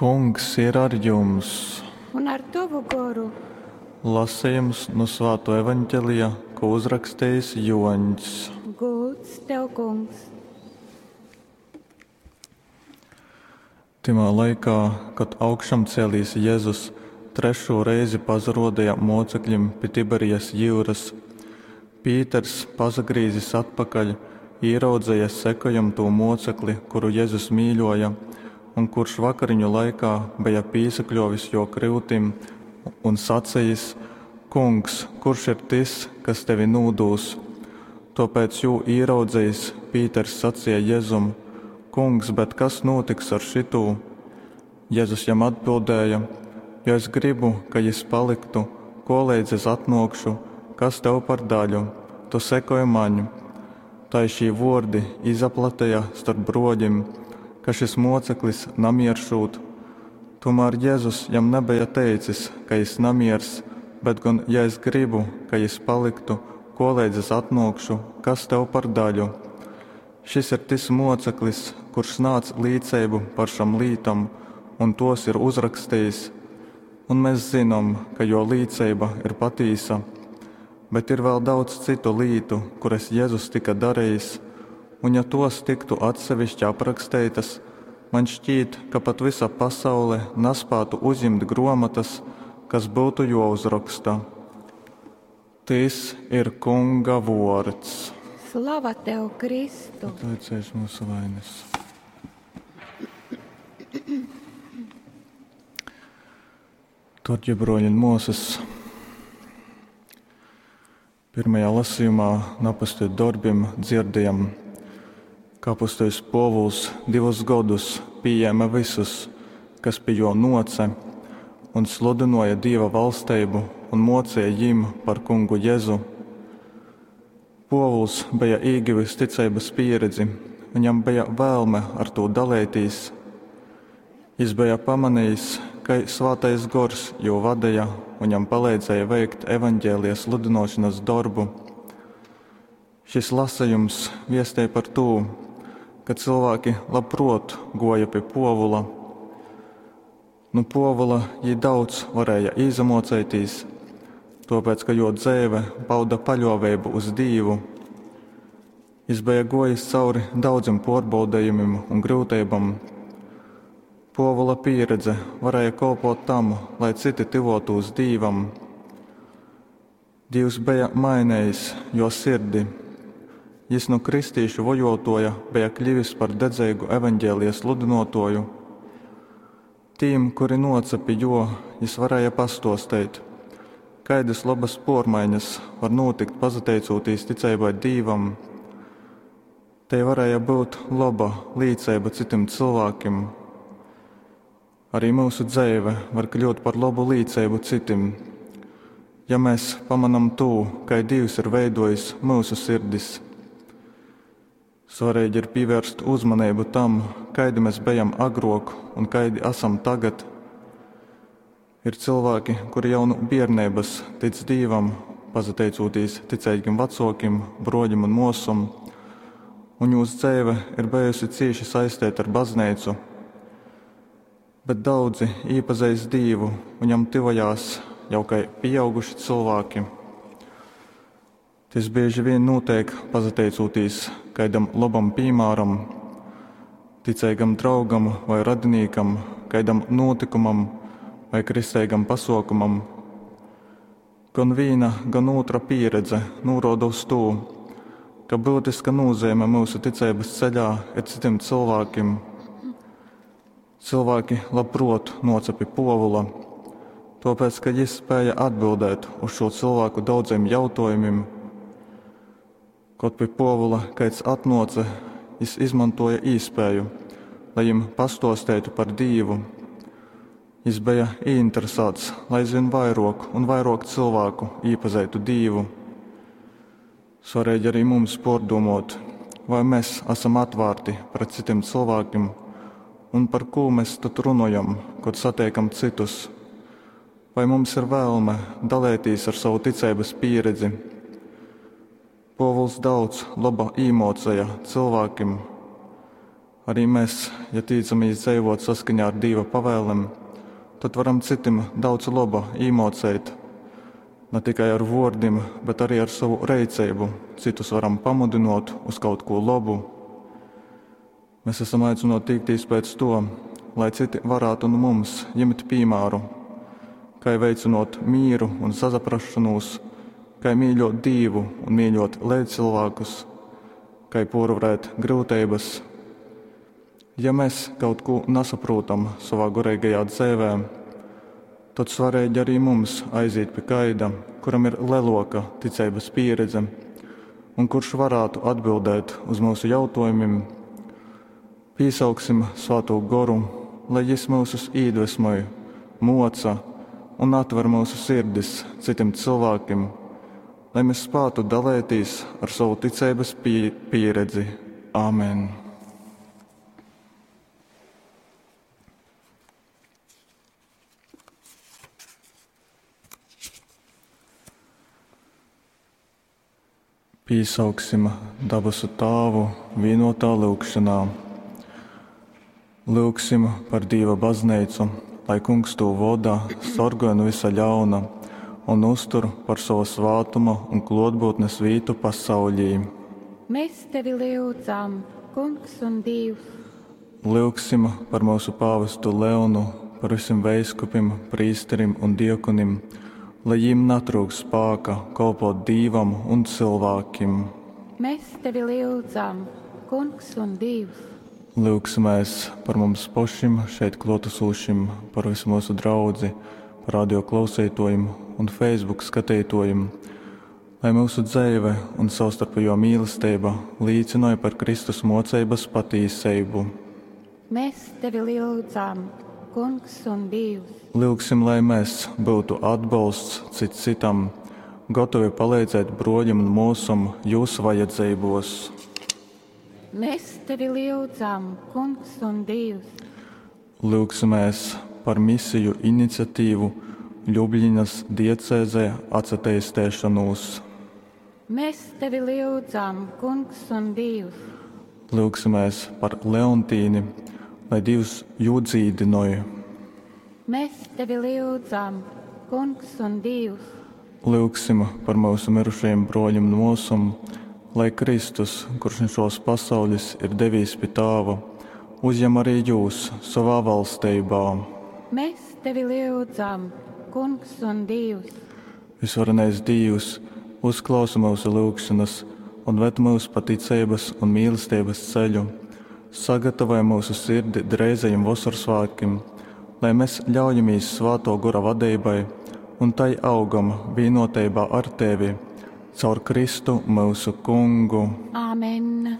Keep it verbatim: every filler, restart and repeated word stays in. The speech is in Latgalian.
Kungs ir ar jums! Un ar tovu goru. Lasījums no Svāto evaņģelija, ko uzrakstījis Joņs. Gūds tev, kungs! Tymā laikā, kad augšamcēlīs Jēzus trešo reizi pazarodīja mocekļim pi Tiberijas jūras, Pīters, pasagrīzis atpakaļ, ieraudzīja sekojam tū mocekli, kuru Jēzus mīļoja, un kurš vakariņu laikā bija pīsakļovis jo kryutim un sacījis: Kungs, kurš ir tis, kas tevi nūdūs? Tāpēc jū ieraudzījis, Pīters sacīja Jēzum: Kungs, bet kas notiks ar šitū? Jēzus jam atbildēja: Jo es gribu, ka jis paliktu, koleidz es atnokšu, kas tev par daļu, tu sekoji maņu. Tai šī vordi izaplatīja starp broģim, ka šis moceklis namieršūt. Tomēr Jēzus jam nebija teicis, ka jis namiers, bet gan, ja es gribu, ka jis paliktu, koleidz es atnokšu, kas tev par daļu. Šis ir tis moceklis, kurš nāc līdzību par šam lītam un tos ir uzrakstījis, un mēs zinām, ka jo līdzība ir patīsa. Bet ir vēl daudz citu lītu, kuras Jēzus tika darījis, un ja tos tiktu atsevišķi aprakstītas, man šķiet, ka pat visa pasaule nespētu uzņemt gromatas, kas būtu jāuzraksta. Tis ir Kunga vords. Slava tev, Kristu! Atlaicies mūsu vainas. Darbie broļi un māsas, pirmajā lasījumā no apustuļu darbiem dzirdējam, ka apustuļs Pōvuls divus godus pieņēma visus, kas pie jo noce, un sludināja Dieva valstību un mocīja jim par kungu Jēzu. Pōvuls bija ieguvis ticības pieredzi, viņam bija vēlme ar to dalīties. Jis bija pamanījis, ka Svētais Gors jū vadīja un jam palīdzēja veikt evaņģēlijas sludināšanas darbu. Šis lasījums viestēja par to, ka cilvēki labprot goja pie Pōvula. Nu Pōvula jī daudz varēja īzamocētīs, tāpēc, ka jo dzēve pauda paļāvību uz Dīvu. Jis bija gojis cauri daudzim pārbaudījumiem un grūtībām. Pōvula pieredze varēja kalpot tam, lai citi tuvotos Dīvam. Dievs bija mainījis jo sirdi. Jis no kristīšu vojotoja bija kļuvis par dedzīgu evaņģēlijas sludinotoju. Tīm, kuri noca pie jo, jis varēja pastosteit, kaidas labas pormaiņas var notikt pazateicūtīs ticībai Dīvam. Te varēja būt laba līdzība citiem cilvēkiem. Arī mūsu dzēve var kļūt par labu līdzību citim, ja mēs pamanam to, kā Dievs ir veidojis mūsu sirdis. Svarīgi ir pievērst uzmanību tam, kaidi mēs bijām agrāk un kaidi esam tagad. Ir cilvēki, kuri jau no bērnības tic Dievam, pazateicūtīs ticīgiem vecākiem, broļiem un mosam, un jūsu dzīve ir bijusi cieši saistīta ar baznīcu. Bet daudzi iepazīst Dievu un jam tuvojās jau kā pieauguši cilvēki. Tas bieži vien notiek pazateicūtīs kaidam labam piemēram, ticīgam draugam vai radiniekam, kaidam notikumam vai kristīgam pasaukumam. Gan viena, gan otra pieredze norāda uz to, ka būtiska nozīme mūsu ticības ceļā ir citiem cilvēkiem. Cilvēki labprot nocepi Pōvula, tāpēc, ka jis spēja atbildēt uz šo cilvēku daudziem jautājumiem. Kad pie Pōvula kaids atnoce, jis izmantoja īspēju, lai jim pastostētu par Dīvu. Jis bija ieinteresēts, lai aizvien vairāk un vairāk cilvēku iepazītu Dīvu. Svarīgi arī mums pārdomot, vai mēs esam atvērti pret citiem cilvēkiem un par ko mēs tad runājam, kad satiekam citus. Vai mums ir vēlme dalīties ar savu ticības pieredzi? Pōvuls daudz laba īmocēja cilvēkiem. Arī mēs, ja tīcamīs dzeivot saskaņā ar Dīva pavēlem, tad varam citim daudz loba īmōceit. Ne tikai ar vuordim, bet arī ar savu reiceibu citus varam pamudinot uz kaut ko labu. Mēs esam aicināti tīktīs pēc to, lai citi varētu nu mums ņemt piemēru, kai veicinot mīru un sazaprašanos, kai mīļot Dīvu un mīļot līdzcilvēkus, kai porvarēt grūtības. Ja mēs kaut ko nesaprotam savā garīgajā dzīvē, tad svarīgi arī mums aiziet pie kaida, kuram ir leloka ticības pieredze un kurš varētu atbildēt uz mūsu jautājumiem. Piesauksim Svēto Goru, lai Jis mūsus iedvesmoj, moca un atver mūsu sirdis citiem cilvēkiem, lai mēs spētu dalīties ar savu ticības pie pieredzi. Āmen! Piesauksim dabasu Tāvu vienotā lūgšanā. Lūgsim par Dieva baznīcu, lai Kungs to voda, sorgoja no visa ļauna un uztur par savu svātuma un klotbūtnes vītu pasaulī. Mēs tevi lūdzam, Kungs un Dievs. Lūgsim par mūsu pāvestu Leonu, par visiem veiskupim, prīsterim un diekonim, lai viņiem netrūks spēka kalpot Dievam un cilvēkiem. Mēs tevi lūdzam, Kungs un Dievs. Lūgsimies par mums pašiem šeit klātesošiem, par visu mūsu draudzi, par radio klausītājiem un Facebook skatītājiem, lai mūsu dzīve un savstarpējo mīlestība līdzināja par Kristus mocības patīsību. Mēs tevi lūdzam, Kungs un Dievs. Lūgsim, lai mēs būtu atbalsts cits citam, gatavi palīdzēt broļam un mūsam jūsu vajadzībos. Mēs tevi lūdzam, Kungs un Dievs. Lūgsimies par misiju iniciatīvu Ljubljanas diecēzē atsateistēšanos. Mēs tevi lūdzam, Kungs un Dievs. Lūgsimies par Leontīni, lai Dievs jū dzīdinoja. Mēs tevi lūdzam, Kungs un Dievs. Lūgsim par mūsu mirušajiem broļiem un mūsam, lai Kristus, kurš no šos pasaules ir devīs pie Tāva, uzņem arī jūs savā valstībā. Mēs tevi lūdzam, Kungs un Dievs. Visvarenais Dievs, uzklausa mūsu lūgšanas un ved mūs pa ticības un mīlestības ceļu. Sagatavoja mūsu sirdi dreizajiem vasarsvētkiem, lai mēs ļaujamies Svēto Gora vadībai un tai augam vienotībā ar Tevi, caur Kristu mūsu Kungu. Āmen.